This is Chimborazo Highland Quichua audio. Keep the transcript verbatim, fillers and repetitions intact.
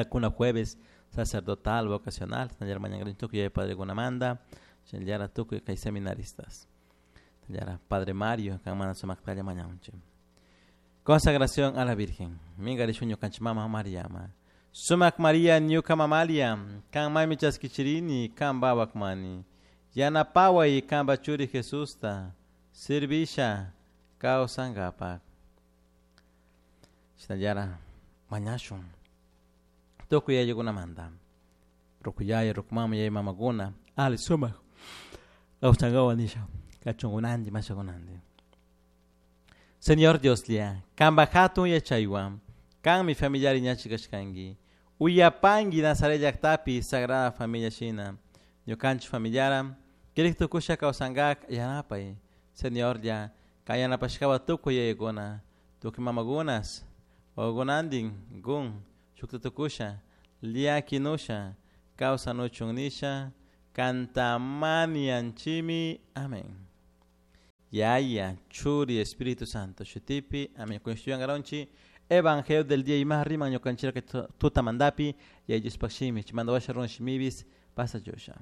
Kuna jueves sacerdotal vocacional shinallara mañankarinchik tukuy yaya padrekunamanta shinallara tukuy kay seminaristas. Shinallara Padre Mario kanmanta sumaktalla mañanchik. Consagración a la Virgen. Minkarishun ñukanchik mama Mariama. Sumak Maria ñuka mamalia, kan mami chaskichirini, kan babakmani. Yanapaway kanpa churi Jesusta, servisha kawsankapak. Shinallara mañashun. Tukuy yayukunamanta. Ruku yaya, ruku mama, yaya mamakuna, ali sumak kawsankawa nisha, kachunkunanti, mashakunanti. Señor Dioslla, kanpa hatun yachaywan, kanmi familiar ñachi kashkanki. Uyapanki Nazaret llaktapi Sagrada Familia shina. Ñukanchik familiara, kirik tukusha kawsankak yanapay. Señorlla, kan yanapashkawa tukuy yayakuna, tukuy mamakunas, wawakunantin, gun, shukta tukusha, llakinusha, kawsanuchun nisha, kantamanianchimi. Amén. Yaya, Churi, Espíritu Santo, shutipi, amén. Kunshuyangaronchi, Evangelio del día y más rima ñukanchira que tutamandapi, y ellos pakshimi, chimando washa ron shimibis, pasa yosha.